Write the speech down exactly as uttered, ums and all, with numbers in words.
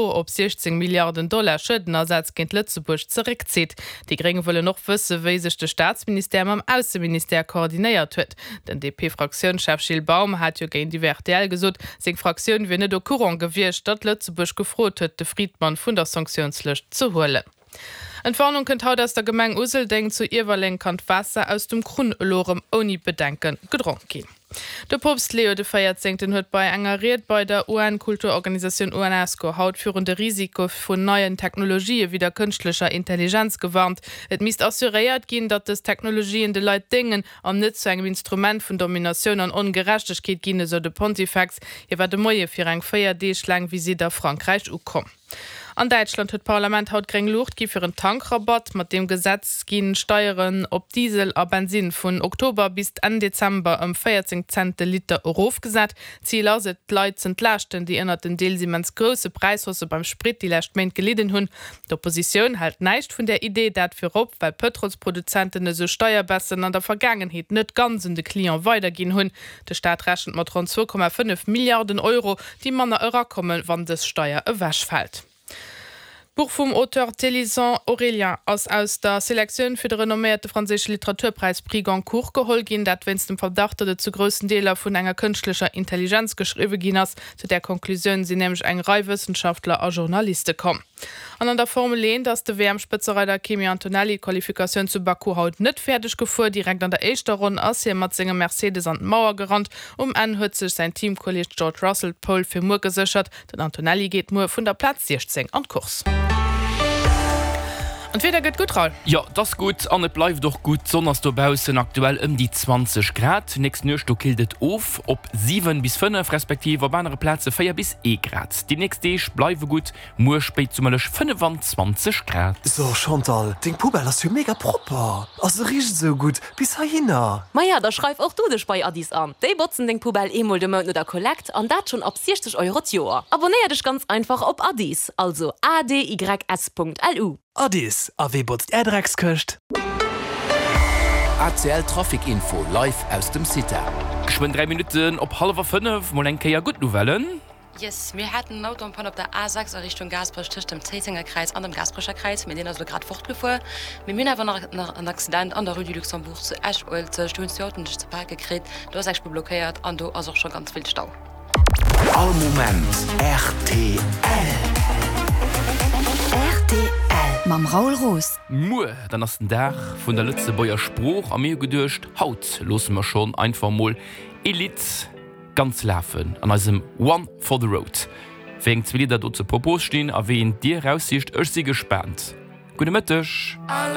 op siechzéng Milliarden Dollar Schuedenersatz géint Lëtzebuerg zeréckzitt. Déi Gréng wëllen och wësse wéi sech de Staatsministère mam Ausseministère koordinéiert huet. Den D P-Fraktiounschef Gilles Baum hat jo géintiwwer R T L gesot, seng Fraktioun wier net au courant gewiescht, datt Lëtzebuerg gefrot huet, de Fridman vun der Sanktiounslëscht ze huelen. Entwarnung kënnt haut aus der Gemeng Useldeng. Zu Iewerleng kann d'Waasser aus dem Krunn elo rëm ouni Bedenke gedronk ginn. De Poopst Leo de Véierzéngten huet bei enger Ried bei der U N-Kulturorganisatioun UNESCO haut virun de Risike vun neien Technologië wéi der kënschtlecher Intelligenz gewarnt. Et misst assuréiert ginn, datt dës Technologien de Leit déngen an net zu engem Instrument vun Dominatioun an Ongerechtegkeet ginn, esou de Pontifex. Hie war de Moie fir eng véier Deeg laang Visitt a Frankräich ukomm. An Däitschland huet d'Parlament haut gréng Luucht gi fir en Tankrabatt. Mat deem Gesetz ginn d'Steieren op Diesel a Bensinn vun Oktober bis Enn Dezember ëm véierzéng Cent de Liter erofgesat. Zil ass et, d'Leit z'entlaaschten, déi ënnert den deels immens grousse Präishaussë beim Sprit déi lescht Méint gelidden hunn. D'Oppositioun hält näischt vun där Idee, dat virop, well Pëtrolsproduzenten esou Steierbaissen an der Vergaangenheet net ganz un de Client weiderginn hunn. De Staat rechent mat ronn zwou Komma fënnef Milliarden Euro, déi manner erakommen, wann dës Steier ewechfält. D'Buch vum Auteur Thélison Aurélien ass aus der Selektioun fir de renomméierte franséische Literaturpräis Prix Goncourt geholl ginn, dat wéinst dem Verdacht, datt et zu groussen Deeler vun enger kënschtlecher Intelligenz geschriwwe ginn ass. Zu där Konklusioun sinn nämlech eng Rei Wëssenschaftler a Journaliste komm. An an der Formel eent ass de W M-Spëtzereider Kimi Antonelli d'Qualifikatioun zu Baku haut net fäerdeg gefuer. Direkt an der éischter Ronn ass hie mat sengem Mercedes an d'Mauer gerannt. Um Enn huet sech säin Teamkolleeg George Russell d'Pole fir muer geséchert. Den Antonelli geet muer vun der Plaz siechzéng an d'Course. An d'Wieder gëtt gutt, Raoul. Jo, et ass gutt an et bleift och gutt. D'Sonn ass dobaussen, aktuell ëm déi zwanzeg Grad. Nächst Nuecht do killt et of op siwen bis fënnef, respektiv op anere Plaze véier bis ee Grad. Déi nächst Deeg bleiwe gutt, muer spéitsummerlech fënnefenzwanzeg Grad. So Chantal, deng Poubelle ass jo mega propper a se richt esou gutt bis heihinner. Maja, da schreif och du dech bei Adys an. Déi botzen deng Poubelle eemol de Mount no der Kollekt an dat schonn ab siechzeg Euro d'Joer. Abonéier dech ganz einfach op Adys, also A D Y S Punkt L U. Adys, a wee botzt är Dreckskëscht? A C L Trafic Info live aus dem Cita. Geschwënn dräi Minutten op hallwer fënnef, mol eng Kéier gutt Nouvellen. Yes, mir haten en Auto en panne op der A sechs a Richtung Gaasperech tëscht dem Zéissenger Kräiz an dem Gaasperecher Kräiz, mee deen ass elo grad fortgefuer. Mee mir hunn awer nach nach en Accident an der Rue du Luxembourg zu Esch-Uelzecht, do hunn zwee Autoen sech ze pake kritt, do ass eng Spuer blockéiert an do ass och scho ganz vill Stau. All Moment R T L. R T L mam Raoul Roos. Muer dann ass den Dag vun der Lëtzebuerger Sprooch a mir hu geduecht, haut loosse mer schonn einfach mol ee Lidd ganz lafen an eisem One for the Road. Wéi eng zwee Lidder do zur Propos stinn a wéi eent dir eraussicht, ech si gespaant. Gudde Mëtteg.